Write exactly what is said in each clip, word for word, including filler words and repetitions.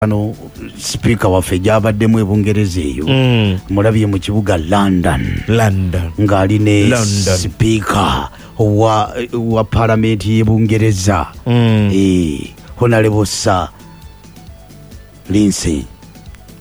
Ano speaker waffe gy'abaddemu e Bungereza eyo Mm. mulabye mu kibuga London London. ng'ali ne London. speaker wa, wa palamenti y'e Bungereza Mm. eh, Honorable Sir Lindsay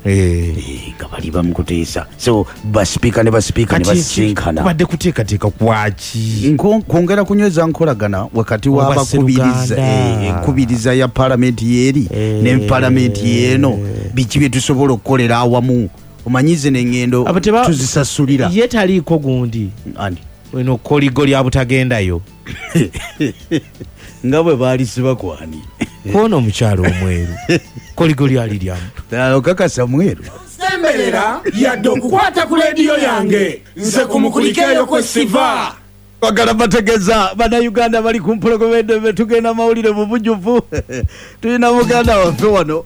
Eh. Eh, nga bali bamukuteesa so basipiika ne basipiika ne Kati basisinkana kubadde kuteekateeka kwaki? Nko- kwongera kunyweza nkolagana wakati w'abakubiriza Oba eh, enkubiriza ya palamenti yeeri Eh. ne palamenti yeeno biki bye tusobola okukolera awamu omanyi zino eŋŋendo Abo teba- tuzisasulira Ye taliiko gundi Ani? eno koligo lya butagendayo nga bwe baalisiba kwani kwona omukyalo omweru koligo lyali lyamu okakasa mweru Semberera yadde okukwata ku leediyo yange nze kumukulikeeyo kwe siva. Bagala bategeeza bannayuganda bali ku mpologoma tugenda mawulire mu bujjuvu tulina muganda waffe wano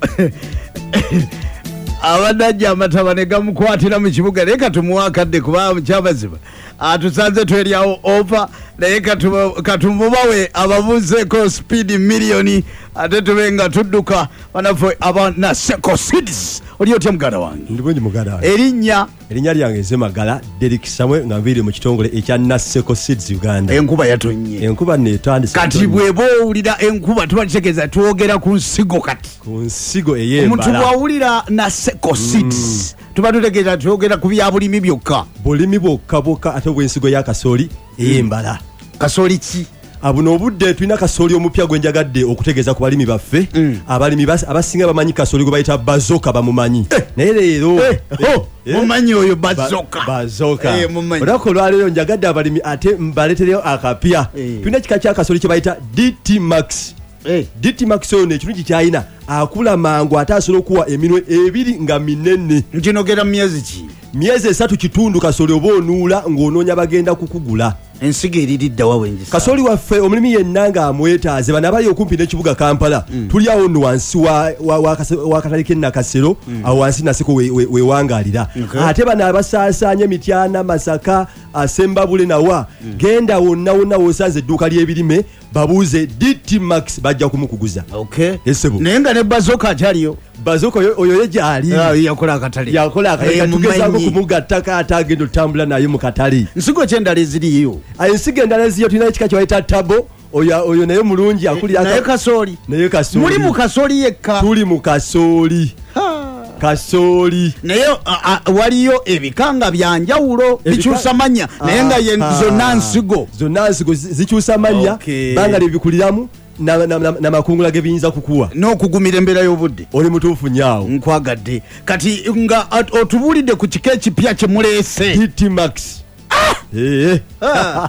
abadde ajja amataba ne gamukwatira mu kibuga naye katumuwa akadde kuba mukyamazima atusanze tweryawo ova naye katumu- katumubawe ababuuzeeko speed miliyoni ate tube nga tudduka banaffe aba Naseko Seeds. Oli otya muganda wange? Ndi bulungi muganda wange. Erinnya? Erinnya lyange nze Magala Derrick Samuel nga nviire mu kitongole ekya Naseko Seeds Uganda. Enkuba yatonnye. Enkuba nno etandise Kati okutonnya. bw'eba owulira enkuba tuba tutegeeza twogera ku nsigo kati. Ku nsigo Omuntu ey'embala. bw'awulira Naseko Seeds tuba tutegeeza twogera ku bya bulimi byokka. Bulimi bwokka bwokka ate obw'ensigo ya kasooli ey'embala. Kasooli ki? Buno obudde tulina kasooli omupya gwe njagadde okutegeeza ku balimi baffe. Mm. Abalimi bas-, abasinga bamanyi kasooli gwe bayita bazoka bamumanyi. Eh. Naye leero Eh, oh, Eh. mumanyi oyo Ba- bazoka. Bazoka. Eh, mumanyi. Olunaku olwaleero njagadde abalimi ate mbaleetereyo akapya. Eh. Tulina ekika kya kasooli kye bayita D T Max. Eh. D T Max ono ekirungi ky'alina akula mangu ate asobola okuwa eminwe ebiri nga minene. Nkinogera mu myezi ki? Myezi esatu kitundu kasooli oba onuula ng'onoonya bagenda kukugula. Ensigo eriridda wa wengisa? Kasooli waffe omulimi yenna ng'amwetaaze bano abali okumpi n'ekibuga Kampala Mm. tuli awo nno wansi wa, wa, wa, wa katale k'e Nakasero, Mm. awo wansi Naseko we, we, wewangaalira. Okay. Ate bano abasaasaanya Mityana, Masaka, Sembabule nawa Mm. genda wonna wonna w'osanze edduuka ly'ebirime babuuze D T Max bajja kumukuguza. Okay. Esebo. Naye nga ne Bazoka akyaliyo. Bazoka oyo, oyo ye gy'ali. Ah, yakola akatale. Yakola akatale. Eh, Tugezaako mumanyi. kumugattako ate agenda otambula naye mu katale. Nsigo ki endala eziriyo? Ah, ensigo endala eziriyo tulina ekika kye bayita tabo. Oyo, oyo naye mulungi akulira Naye aka- kasooli. Naye kasooli. Muli mu kasooli yekka. Tuli mu kasooli. Ha. Kasooli. Naye, a, a, waliyo ebika nga bya njawulo, Ebika- bikyusa mannya, naye nga ye Ah. zonna nsigo. Zonna nsigo zi-, zikyusa mannya, Okay. banga lyebikuliramu na, na, na, n'amakungula ge biyinza kukuwa. N'okugumira embeera y'obudde. Oli mutuufu nnyo awo. Nkwagadde. Kati nga at-, otubuulidde ku kika ekipya kye muleese. D T Max. Ah! Eh. Ah.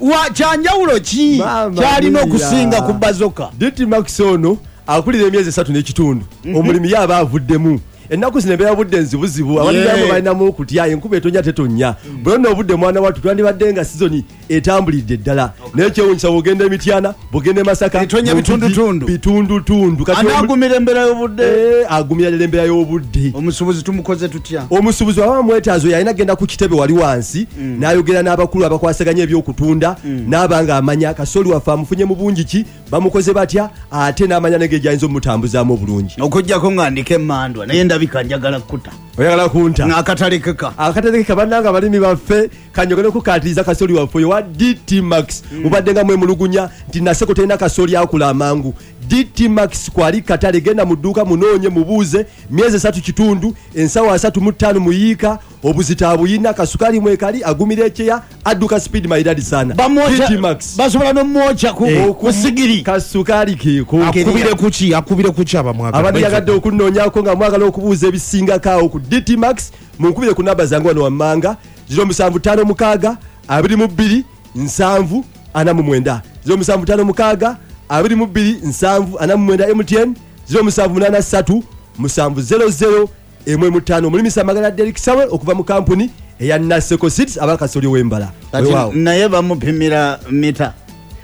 Wa kyanjawulo ki Mama kyalina mia. okusinga ku Bazoka? D T Max ono akulira emyezi esatu n'ekitundu. Mhm. Omulimi ye aba avuddemu. Ennaku zino embeera budde nzibuzibu, abalimi Yeah. abamu balinamu okutya, enkuba etonya tetonya. Bwe nno obudde mwana wattu twandibadde nga sizoni etambulidde ddala. Okay. Naye kyewuunyisa bw'ogenda e Mityana, bw'ogenda e Masaka, Etonya mu Mpigi, bitundutundu. bitundutundu. Kati omu- Anaagumira embeera y'obudde? Eh, agumira ddala embeera y'obudde. Omusuubuzi tumukoze tutya? Omusuubuzi aba amwetaaza oyo alina kugenda ku kitebe wali wansi, Mm. n'ayogera n'abakulu abakwasaganya ebyokutunda, Mm. n'aba ng'amanya kasooli waffe amufunye mu bungi ki, bamukoze batya, ate n'amanya n'engeri gy'ayinza omutambuzaamu obulungi. Okuggyako nga ndiko emmandwa, naye ndabika njagala kkuta. Oyagala kunta? Ng'akatale keka. Akatale keka bannange abalimi baffe, kanjogere okukaatiriza kasooli waffe oyo wa D T Max. Mm. Mubadde nga mwemulugunya nti Naseko terina kasooli akula amangu. D T Max kwali katale, genda mu dduuka munoonye mubuuze, myezi esatu kitundu, ensawo asatu mu ttaano muyiika, obuzito abuyina, kasukali mwekali, agumira ekyeya, adduka speed maridadi sana. Bamwokya- D T Max. Basobola n'omwokya ku- Eh, ku sigiri. Kasukali keeko. Akubire kuki? Akubire kuki abamwagala? Abandyagadde okunoonyaako nga mwagala okubuuza ebisingako awo ku D T Max, munkubire ku namba zange wano wammanga, ziro musanvu ttaano mukaaga, abiri mu bbiri, nsanvu, ana mu mwenda. Ziro musanvu ttaano mukaaga, abiri mu bbiri, nsanvu, ana mu mwenda M T N, ziro musanvu munaana ssatu, musanvu zero zero, emwe mu ttaano. Omulimisa Magala Derrick Samuel okuva mu kampuni eya Naseko Seeds abakasooli w'embala. Kati Weewaawo. naye bamupimira mita.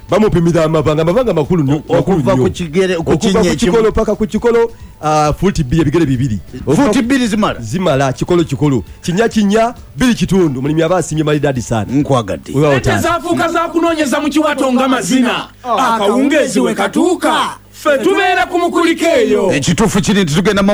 Bamupimira amabanga, amabanga makulu nnyo, O-, makulu okuva nnyo. ku kigere, ku Okuva kinnya ku ekimu. kikolo paka ku kikolo, ah, fuuti bbiri, ebigere bibiri. Okuva Fuuti bbiri zimala? Zimala, kikolo kikolo. Kinnya kinnya, bbiri kitundu. Omulimi aba asimye maridadi sana. Nkwagadde. Weewaawo Ssente taata. zaafuuka za kunoonyeza mu kiwato nga mazina. Akawungeezi we katuuka. Ffe tubeera ku Mukulikeeyo. Ekituufu kiri nti tugenda mawulire.